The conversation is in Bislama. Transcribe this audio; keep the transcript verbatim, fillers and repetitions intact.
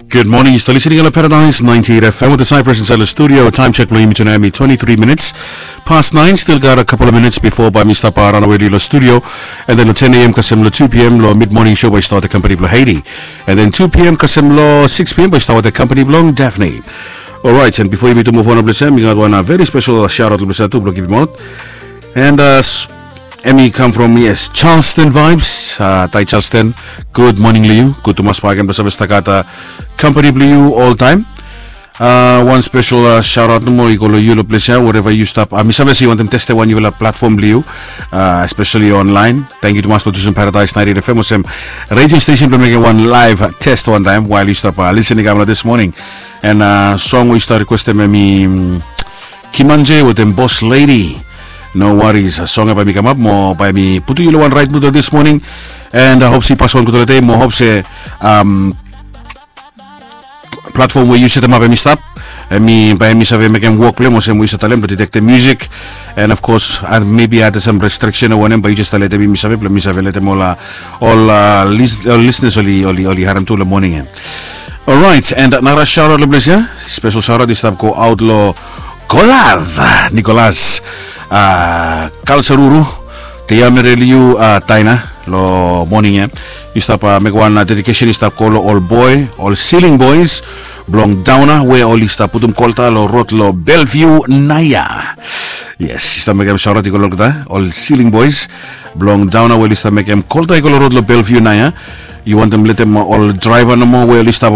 Good morning, yu stap listening long Paradise ninety-eight F M with the Cypress inside the studio. Time check blong yumi tu nao hemi twenty-three minutes past nine. Still got a couple of minutes before bae mi stap ranawe long studio. And then long ten a m kasem long two p m long mid morning show bae start the company blong Haiti. And then two p m kasem long six p m bae start with the company blong Daphne. Alright, and before yumi tu move on long ples ia, mi gat wan very special shout out long ples ia tu blong givim out. And uh, s- Emmy come from, yes, Charleston vibes. Uh, tai Charleston. Good morning long yu. Gud tumas bae ken blong save stap gat uh, company blong yu all time. Uh, wan special uh, shout out nomo i go long yu long ples ia, wherever yu stap. Uh, mi save se yu wantem testem wan yufala platform blong yu, uh, especially online. Thank you tumas blong tusum Paradise ninety-eight F M olsem radio station blong mekem wan live test wan taem while yu stap uh, listening kam long this morning. And uh, song we yu stap requestem hemi mm, Kimanje wetem Boss Lady. No worries, song ia bae mi kamap mo bae mi putum yu long wan right mood this morning. And uh, hope se yu pas wan gudfala dei mo hope se um, platform we yu setemap hemi stap, hemi bae hemi save mekem wok blong hem olsem we yu save talem blong detectem music. And of course uh, maybe ada sam restriction o wanem bae yu jes letem mi save blong mi save letem ol uh, ol uh, lis- ol listeners oli oli oli harem tu long morning ia. Alright, and nara shout out long ples ia. Special shout out i stap go out long Kolas Nikolas, uh, Kalsaruru, Te Ia Mere Liu uh, Taina long morning ia. Yu stap uh, mekem wan uh, dedication i stap go long ol boe, ol Ceiling Boys blong Dauna we oli stap putum kolta long rod long Bellevue naia. Yes, yu stap mekem shout out i go long olgeta ol Ceiling Boys blong Dauna we oli stap mekem kolta i go long rod long Bellevue naia. Yu wantem letem uh, ol draiva nomo we oli stap